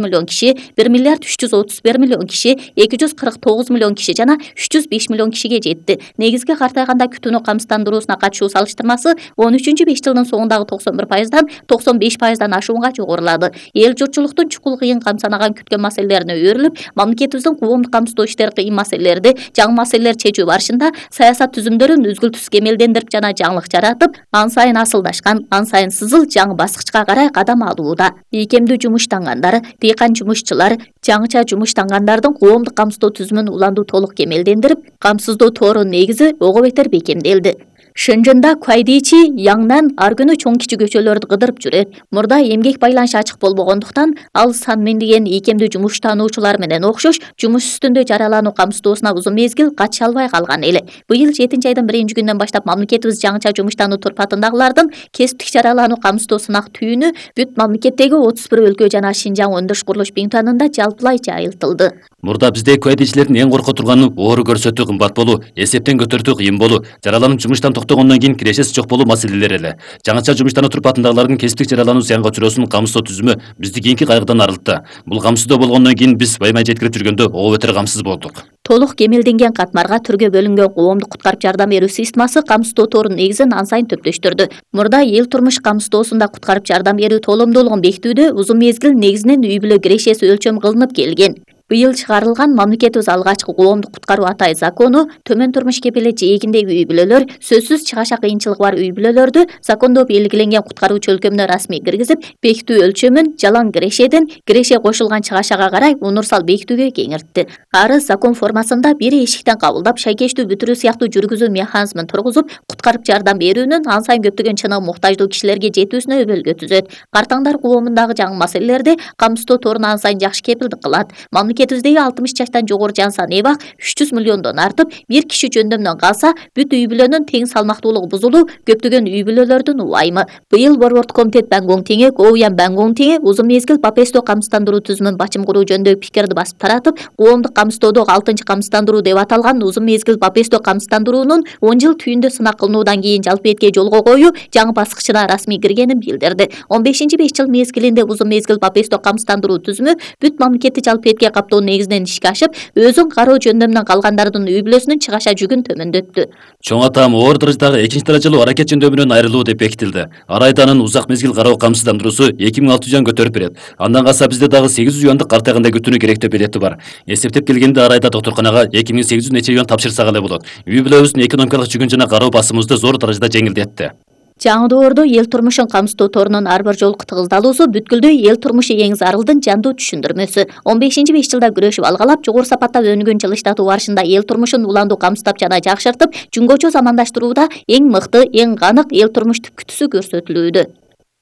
миллион киши, 1 миллиард 331 миллион киши, 249 миллион киши жана 305 миллион кишиге жетти. Негизги картайганда күтүүнү камсыздандыруусуна катышуу салыштырмасы 13-5 жылдын соңундагы 91%дан 95%дан ашуунга жогорулады. Эл журтчулуктун чукул кыйын камсанаган күткөн маселелерине өөрүлүп, мамлекетибиздин коомдук камсыздоо иштери кыйын маселелерди жаңы маселелер чечүү барышында саясат түзүмдөрүн үзгүлтүс кемелдендирип жана жаңылык жаратып, ан сайын асылдашкан, ан сайын сызыл жаңы баскычка карай кадам алууда. Ийкемдүү жумуштангандар, дыйкан жумушчулар, жаңыча жумуштангандардын коомдук камсыздоо түзүмүн уланду толук кемелдендирип, камсыздоо тоорунун негизи ого бетер бекемделди. Шынжында Куайдичи Яңнан ар күнү чоң кичи көчөлөрдү кыдырып жүрөт. Мурда эмгек байланышы ачык болбогондуктан ал сан миңдеген ийкемдүү жумуштануучулар менен окшош жумуш үстүндө жаралануу камсыздоосуна узун мезгил кача албай калган эле. Быйыл 7-айдын 1-күнүнөн баштап мамлекетибиз жаңыча жумуштануу турпатындагылардын кесиптик жаралануу камсыздоо сынак түйүнү бүт мамлекеттеги 31 өлкө жана Шинжаң өндүрүш курулуш бинтуанында жалпылайча айылтылды. Мурда бизде куайдичилердин эң корко турганы оору көрсөтүү кымбат болуу, эсептен көтөртүү кыйын болуу, жараланып жумуштан токтогондон кийин кирешеси жок болуу маселелери эле. Жаңыча жумуштануу турпатындагылардын кесиптик жаралануу зыянга учуроосунун камсыздоо түзүмү бизди кийинки кайгыдан арылтты. Бул камсыздоо болгондон кийин биз Баймай жеткирип жүргөндө ого бетер камсыз болдук. Толук кемелденген катмарга түргө бөлүнгөн коомдук куткарып жардам берүү системасы камсыздоо тоорунун негизин ан сайын төптөштүрдү. Мурда эл турмуш камсыздоосунда куткарып жардам берүү толомдуулугун бекитүүдө узун мезгил негизинен үй бүлө кирешеси өлчөм кылынып келген. Быйыл чыгарылган мамлекетибиз алгачкы коомдук куткаруу атай закону төмөн турмуш кепели жээгиндеги үй бүлөлөр, сөзсүз чыгаша кыйынчылыгы бар үй бүлөлөрдү закондо белгиленген куткаруучу өлкөмүнө расмий киргизип, бекитүү өлчөмүн жалаң кирешеден киреше кошулган чыгашага карай унурсал бекитүүгө кеңиртти. Ары закон формасында бир эшиктен кабылдап, шайкештүү бүтүрүү сыяктуу жүргүзүү механизмин тургузуп, куткарып жардам берүүнүн ан сайын көптөгөн чыныгы муктаждуу кишилерге жетүүсүнө өбөлгө түзөт. Картаңдар коомундагы жаңы маселелерди камсыздоо торуна ан сайын жакшы кепилдик кылат. Мамлекетибиздеги 60 жаштан жогору жан саны эбак 300 миллиондон артып, бир киши жөндөмдөн калса, бүт үй бүлөнүн тең салмактуулугу бузулуу, көптөгөн үй бүлөлөрдүн убайымы. Быйыл Борбордук комитет Бангон Теңе, Коуян Бангон Теңе узун мезгил Папесто камсыздандыруу түзүмүн бачым куруу жөнүндөгү пикирди басып таратып, коомдук камсыздоодо 6-чы камсыздандыруу деп аталган узун мезгил Папесто камсыздандыруунун 10 жыл түйүндө сынак кылынуудан кийин жалпы этке жолго коюу жаңы баскычына расмий киргенин билдирди. 15-5 жыл мезгилинде узун мезгил Папесто камсыздандыруу түзүмү бүт мамлекетти жалпы этке каптоо негизинен ишке ашып, өзүн кароо жөндөмүнөн калгандардын үй бүлөсүнүн чыгаша жүгүн төмөндөттү. Чоң атам оор даражадагы 2-даражалуу аракет жөндөмүнөн айрылуу деп бекитилди. Арайданын узак мезгил кароо камсыздандыруусу 2600 жан көтөрүп берет. Андан калса бизде дагы 800 юандык картайганда күтүүнү керектөө билети бар. Эсептеп келгенде Арайда докторканага 2800 нече юан тапшырсак эле болот. Үй бүлөбүздүн экономикалык жүгүн жана кароо басымыбызды зор даражада жеңилдетти. Жаңы доордо эл турмушун камсыздоо торунун ар бир жолку тыгыздалуусу бүткүлдүү эл турмушу эң зарылдын жандуу түшүндүрмөсү. 15-5 жылда күрөшүп алгалап, жогору сапатта өнүгөн жылыштатуу барышында эл турмушун уландуу камсыздап жана жакшыртып, жөнгөчө замандаштырууда эң мыкты, эң канык эл турмуш түпкүтүсү көрсөтүлүүдө.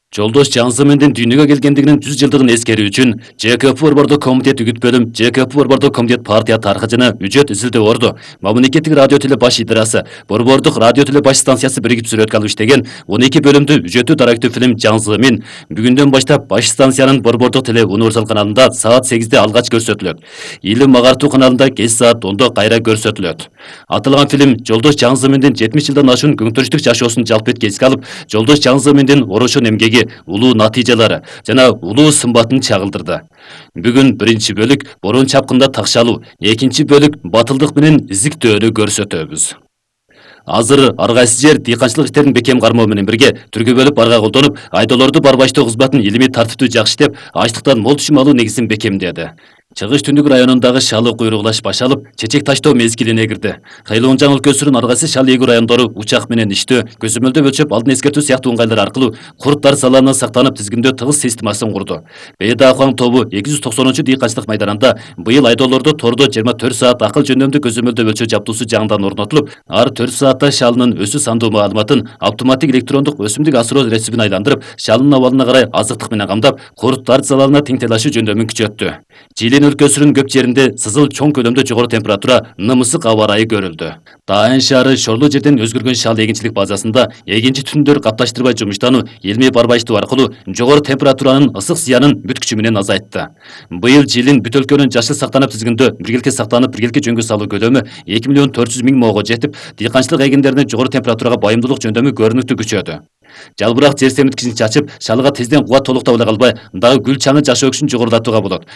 Жолдош Жаңзымендин дүйнөгө келгендигинин 100 жылдыгын эскерүү үчүн ЖКП Борбордук комитет үгүт бөлүм, ЖКП Борбордук комитет партия тарыхы жана үжөт изилдөө орду, мамлекеттик радио теле баш идарасы, Борбордук радио теле баш станциясы биригип сүрөткө алып иштеген 12 бөлүмдүү үжөтү дарактуу фильм Жаңзымин бүгүндөн баштап баш станциянын Борбордук теле универсал каналында саат 8-де алгач көрсөтүлөт. Илим агартуу каналында кеч саат 10-до кайра көрсөтүлөт. Аталган фильм Жолдош Жаңзымендин 70 жылдан ашуун көңтүрүштүк жашоосун жалпы этке эске алып, Жолдош Жаңзымендин орошон эмгеги, улуу натыйжалары жана улуу сымбатын чагылдырды. Бүгүн биринчи бөлүк борон чапкында такшалуу, экинчи бөлүк батылдык менен изиктөөнү көрсөтөбүз. Азыр ар кайсы жер дыйканчылык иштерин бекем кармоо менен бирге түргө бөлүп арга колдонуп, айдоолорду барбаштоо кызматын илимий тартиптүү жакшы иштеп, ачлыктан мол түшүм алуу негизин бекемдеди. Чыгыш Түндүк районундагы шалы куйругулаш башалып, чечек таштоо мезгилине кирди. Кыйлыонжан өлкөсүнүн ар кайсы шал эгүү райондору учак менен иштөө, көзөмөлдөө өлчөп, алдын эскертүү сыяктуу ыңгайлар аркылуу курттар салаанынан сактанып тизгиндөө тыгыз системасын курду. Бейдахуаң тобу 290 дыйканчылык майданында быйыл айдоолорду тордо 24 саат акыл жөндөмдүү көзөмөлдөө өлчөө жабдуусу жаңыдан орнотулуп, ар 4 саатта шалынын өсүү сандуу маалыматын автоматтик электрондук өсүмдүк асыроо ресибин айландырып, шалынын абалына карай азыктык менен камдап, курттар залалына тең талашуу жөндөмүн күчөттү. Жилин өлкөсүнүн көп жеринде сызыл чоң көлөмдө жогору температура, нымысык аба ырайы көрүлдү. Таан шаары шорлуу жерден өзгөргөн шал эгинчилик базасында эгинчи түтүндөр капташтырбай жумуштануу, илмий барбаштоо аркылуу жогору температуранын ысык зыянын бүт күчү менен азайтты. Быйыл жылын бүт өлкөнүн жашыл сактанып тизгиндө биргеликке сактанып биргеликке жөнгө салуу көлөмү 2.400.000 моого жетип, дыйканчылык эгиндеринде жогору температурага байымдуулук жөндөмү көрүнүктүү күчөдү. Жалбырак жер семирткичин чачып, шалыга тезден кубат толуктап эле калбай, дагы гүл чаңы жашоо күчүн жогорулатууга болот.